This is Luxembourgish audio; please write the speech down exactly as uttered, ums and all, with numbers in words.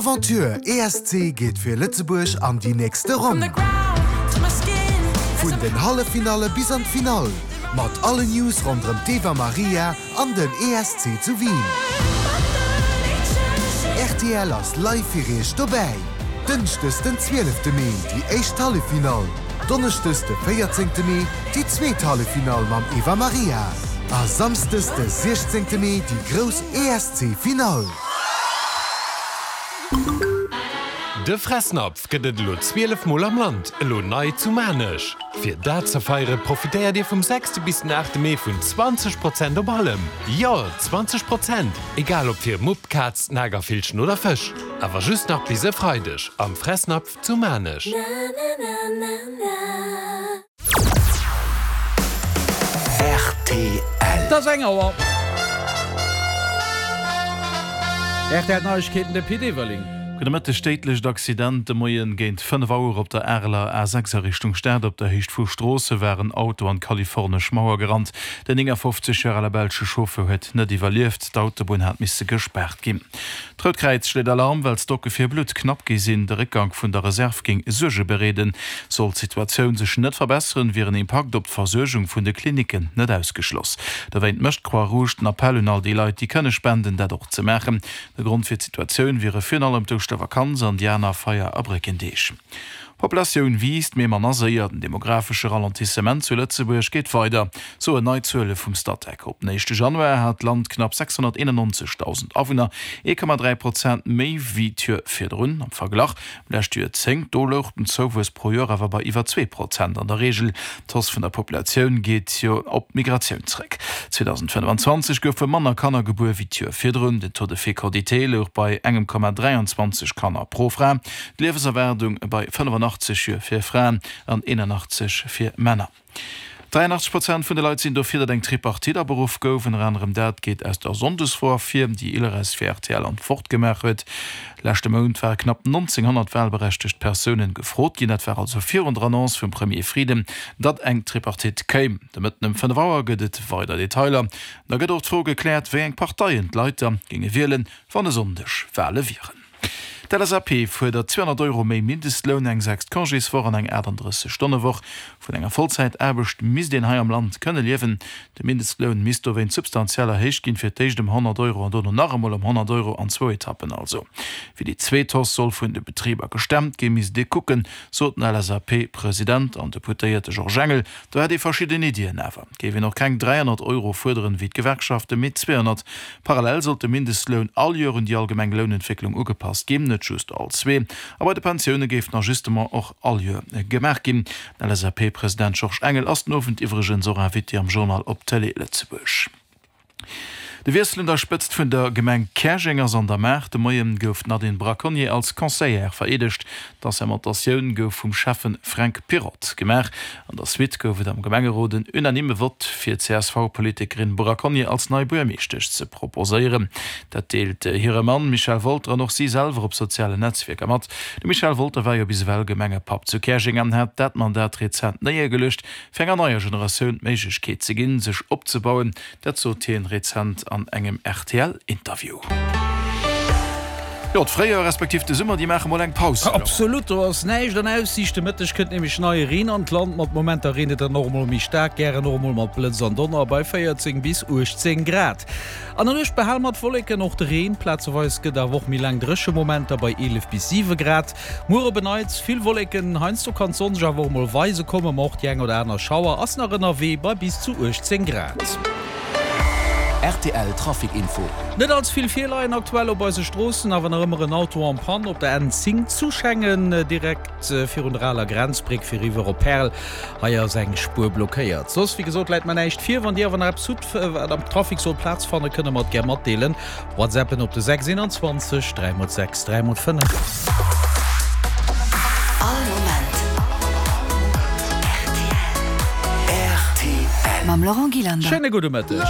Aventure E S C geet fir Lëtzebuerg an déi nächste Ronn. Vun den Halleffinalle bis an d'Finall. Mat alle News ronderëm d'Eva Maria an den E S C zu Wien. R T L ass live fir iech dobäi. Dënschdes den zwielefte Mee déi éischt Halleffinall. Donneschdes de véierzéngte Mee déi zweet Halleffinall mam Eva Maria. A Samschdes de siechzéngte Mee déi grouss E S C-Finall. De Fressnapf gëtt et elo zwielef Mol am Land, elo nei zu Maarnech. Fir dat ze feiere profitéiert Dir vum sechste bis den aachte Mee vun zwanzeg Prozent op allem. Jo, zwanzeg Prozent! Egal ob fir Mupp, Kaz, Nagervillchen oder Fësch. Awer just nach bis e Freideg am Fressnapf zu Maarnech. R T L. Et ass eng Auer. R T L Neiegkeeten, de Pit Everling. Gudde Mëtteg. Déidlecht Accident de Moien géint fënnef Auer op der Areler A sechs a Richtung Stad. Op der Héicht vu Stroosse war en Auto an d'kalifornesch Mauer gerannt. Den néngafofzeg Joer ale belsche Chauffeur huet net iwwerlieft. D'Autobunn hat misse gespaart ginn. D'Rout Kräiz schléit Alarm, well d'Stocke fir Blutt knapp gi sinn. De Réckgank vun der Reserv géing Suerge bereeden. Sollt d'Situatioun sech net verbesseren, wier en Impakt op d'Versuergung vun de Klinicken net ausgeschloss. Dowéint mécht d'Croix-Rouge den Appell un all déi Leit, déi kënne spenden, dat och ze maachen. De Grond fir d'Situatioun wiere virun allem d'Ouschtervakanz an déi aner Feier a Bréckendeeg. D'Populatioun wiisst, mee manner séier. Den demografesche Ralentissement zu Lëtzebuerg geet weider, soen nei Zuele vum Statec. Op den éischte Januar hat d'Land knapp sechshonnerteenannonzegdausend Awunner, ee Komma dräi Prozent méi wéi d'Joer virdrun. Am Verglach, am leschte Joerzéngt, do louch den Zouwuess pro Joer awer bei iwwer zwee Prozent an der Reegel. D'Hausse vun der Populatioun geet jo op d'Migratioun zeréck. zweedausendfënnefanzwanzeg goufe manner Kanner gebuer wéi d'Joer virdrun. Den Taux de fécondité louch bei engem Komma dräianzwanzeg Kanner pro Fra, d'Liewenserwaardung bei fënnefanachteg Joer fir Fraen an eenanachtzeg fir Männer. Dräianachtzeg Prozent vun de Leit sinn dofir, datt eng Tripartite aberuff gouf. Ënner anerem dat geet aus der Sonndesfro ervir, déi Ilres fir R T L an d'Wort gemaach huet. Leschte Mount ware knapp nonzénghonnert walberechtegt Persounen gefrot ginn. Dat war also virun der Annonce vum Premier Frieden, datt eng Tripartite kéim. De Mëtten ëm fënnef Auer gëtt et weider Detailer. Da gëtt och d'Fro gekläert, wéi eng Parteien d'Leit da géinge wielen, wann e Sonndeg Wale wieren. D'L S A P fuerdert zweehonnert Euro méi Mindestloun, eng sechst Congéswoch an eng aachtanddrësseg-Stonne-Woch. Vun enger Vollzäitaarbecht misst een hei am Land kënne liewen. De Mindestloun misst dowéinst substantiell erhéicht ginn, fir d'éischt ëm honnert Euro an dono nach emol ëm honnert Euro, an zwou Etappen also. Wéi déi zweet Hausse soll vun de Betriber gestemmt ginn, misst ee kucken, sot den L S A P-President an Deputéierte Georges Engel. Do hätt ee verschidden Iddien, awer géif een och keng dräihonnert Euro fuerderen, wéi d'Gewerkschaften, mee zweehonnert. Parallel sollt de Mindestloun all Joer un déi allgemeng Lounentwécklung ugepasst ginn, net just all zwee. A bei de Pensioune géif den Ajustement och all Joer gemaach ginn. Den L S A P-President Georges Engel ass den Owend iwwregens och Invité am Journal op Tëlee Lëtzebuerg. De Wiessel un der Spëtzt vun der Gemeng Käerjeng ass an der Maach. De Moien gouf d'Nadine Braconnier als Conseillère vereedegt. D'Assermentatioun gouf vum Schäffen Fränk Pirotte gemaach. An der Suite gouf et am Gemengerot en unanime Vott fir d'C S V-Politikerin Braconnier als nei Buergermeeschtesch ze proposéieren. Dat deelt hire Mann Michel Wolter an och si selwer op sozialen Netzwierker mat. De Michel Wolter war jo bis ewell Gemengepapp zu Käerjeng an hat dat Mandat rezent néiergeluecht, fir enger neier Generatioun d'Méiglechkeet ze ginn, sech opzebauen. Dat sot hien rezent an engem R T L-Interview. Jo, d'Fréijoer respektiv de Summer, déi maache mol eng Paus. Absolut, do ass näischt an Aussiicht. De Mëtteg kënnt nämlech neie Reen an d'Land. Mat Momenter reent et dann och emol méi staark, gären och emol mat Blëtz an Donner bei véierzéng bis uechtzéng Grad. An der Nuecht behale mer d'Wolleken, och de Reen. Plazeweis gëtt awer och méi laang dréche Momenter bei eelef bis siwe Grad. Muer op en Neits vill Wolleken, heiansdo kann d'Sonn sech awer och emol weise kommen, ma och déi eng oder aner Schauer ass nach ënnerwee bei bis zu uechtzéng Grad. R T L Trafic Info. Net all ze vill Virleien aktuell op eise Stroossen, awer nach ëmmer en Auto en panne op der N zéng zu Schengen, direkt virun der aler Grenzbréck fir eriwwer op Perl. Hei ass eng Spuer blockéiert. Soss, wéi gesot, läit mer näischt vir. Wann Dir awer nach eppes hutt, wat am Trafic soll Plaz fannen, kënnt der mer et gär matdeelen. WhatsAppen op de sechs eenanzwanzeg dräi mol sechs dräi mol fënnef. All Moment R T L. Mam Laurent Gillander. Schéine gudde Mëtteg.